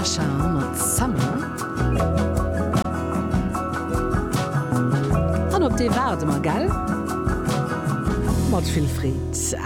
Sasha mat Summer. An op dee waarde mer, gell? Mat vill Freed.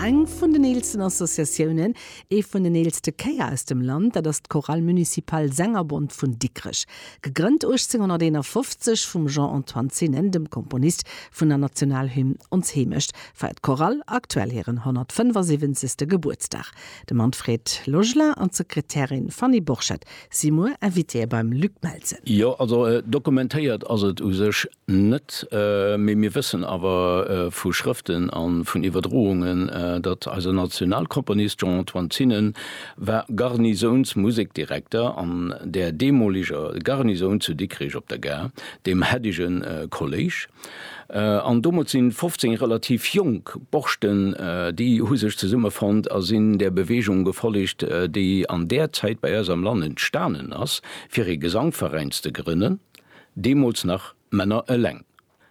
Eng vun den eelsten Associatiounen, ee vun den eelste Chéier aus dem Land, dat ass d'Chorale Municipale Sängerbond vun Dikrech. Gegrënnt 1851 vum Jean-Antoine Zinnen, dem Komponist vun der Nationalhymn Ons Heemecht, feiert d'Chorale aktuell hiren 175. Gebuertsdag. De Manfred Logelin an d'Sekretärin Fanny Borchert si muer Invitéë beim Luc Melsen. Jo, also dokumentéiert ass et u sech net, mee mir wëssen awer vu Schrëften a vun Iwwerdroungen, datt eise Nationalkomponist Jean-Antoine Zinnen war Garnisounsmusekdirekter an där deemoleger Garnisoun zu Dikrech op der Gare, dem haidege Kolléisch. An domat sinn 15 relativ jonk Borschten, déi hu sech zesummefonnt a sinn där Bewegung gefollegt, déi an där Zäit bei eis am Land entstanen ass, fir ee Gesangveräin ze grënnen, deemools nach Männer eleng.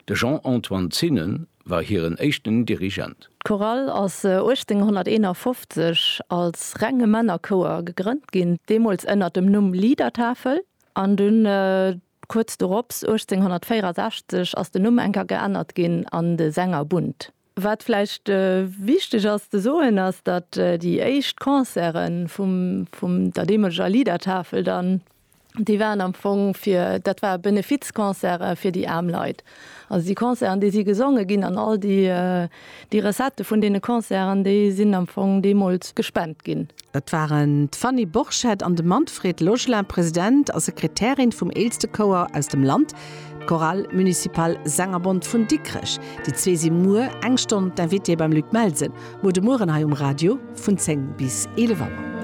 De Jean-Antoine Zinnen war hiren éischten Dirigent. D'Chorale ass 1851 als renge Männerchouer gegrënnt ginn, deemools ënner dem Numm Liedertafel, an dunn Kuerz dorops, 1864, ass den Numm enker geännert ginn an de Sängerbund. Wat vläicht wichteg ass ze soen, ass, datt déi éischt Concerte vum vum der deemoleger Liedertafel dann, déi waren am Fong fir, dat war Benefizconcerte fir déi aarm Leit. Also déi Concerten, déi si gesonge ginn an all déi déi Recettë vun deene Concerten, déi sinn am Fong deemools gespent ginn. Dat waren d'Fanny Borchert an de Manfred Logelin, President a Sekretärin vum eelste Chouer aus dem Land, d'Chorale Municipale Sängerbond vun Dikrech. Déi zwee si muer eng Stonn d'Invitéë beim Luc Melsen, muer de Mueren hei um Radio vun 10 bis 11 Auer.